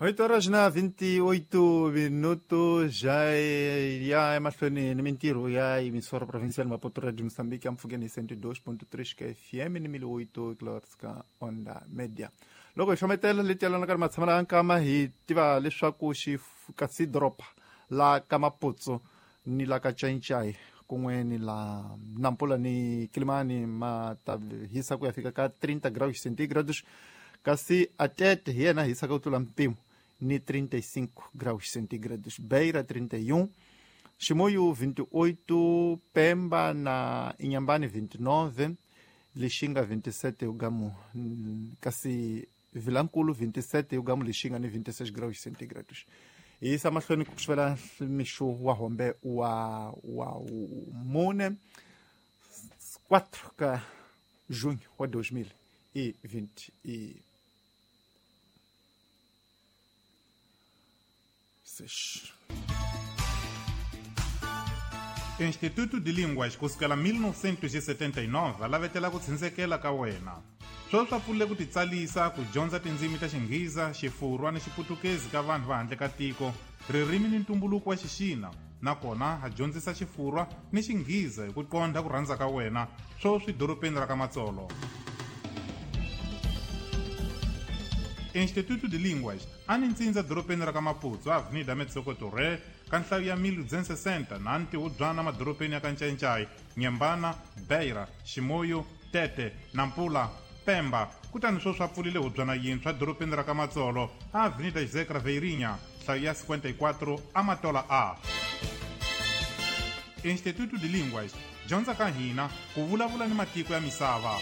8 horas na 28 minutos já ya emahlweni ni mintirho ya emissora provincial Maputo Radio Moçambique ampfhukeni hi 102.3 ka FM ni 1008 kilohertz ka onda media. Loko hi hlometela leti yalanaka ni matshamelo ya nkama hi tiva leswaku kasi doroba la ka Maputsu ni la ka Chainchai kun'we ni la Nampula ni Kilimani ma ta hisa ku ya fika ka 30 graus centigrados, kasi Atete hi yena hisaka ku tlula mpimo ni 35 graus centigrados, Beira 31, Chimoio 28, Pemba na Inhambane 29, Lixinga 27 ugamu, kasi Vilankulu 27 ugamu Lixinga ni 26 graus centigrados. Hi yisa mahlweni ku sivela mixo wa hombe wa mune 4 ka junho wa 2026. Instituto de Línguas kusukela 1979 lavetela ku tshindzekela ka wena. Sweswi swa pfulile ku titsalisa ku dyondza tindzimi ta Xinghiza, Xifurwa ni Xiputukezi ka vanhu va handle ka tiko, ririmi ni ntumbuluko wa Xixina, nakona ha dyondzisa Xifurwa ni Xinghiza hi ku qondha ku rhandza ka wena, sweswi dorobeni ra ka Matsolo. Instituto de Línguas a ni ntsindza dorobeni ra ka Maputo, Avenida Metsoko Torre, ka nhlayo ya 1260 na ntihubyana madorobeni ya ka Ncayincai, Nyembana, Beira, Chimoio, Tete, Nampula, Pemba. Kutani sweswi a pfulile hubyana yintshwa dorobeni ra ka Matsolo, Avenida José Craveirinha, nhlayo ya 54, Amatola A. Instituto de Línguas, dyondza ka hina ku vulavula ni matiko ya misava.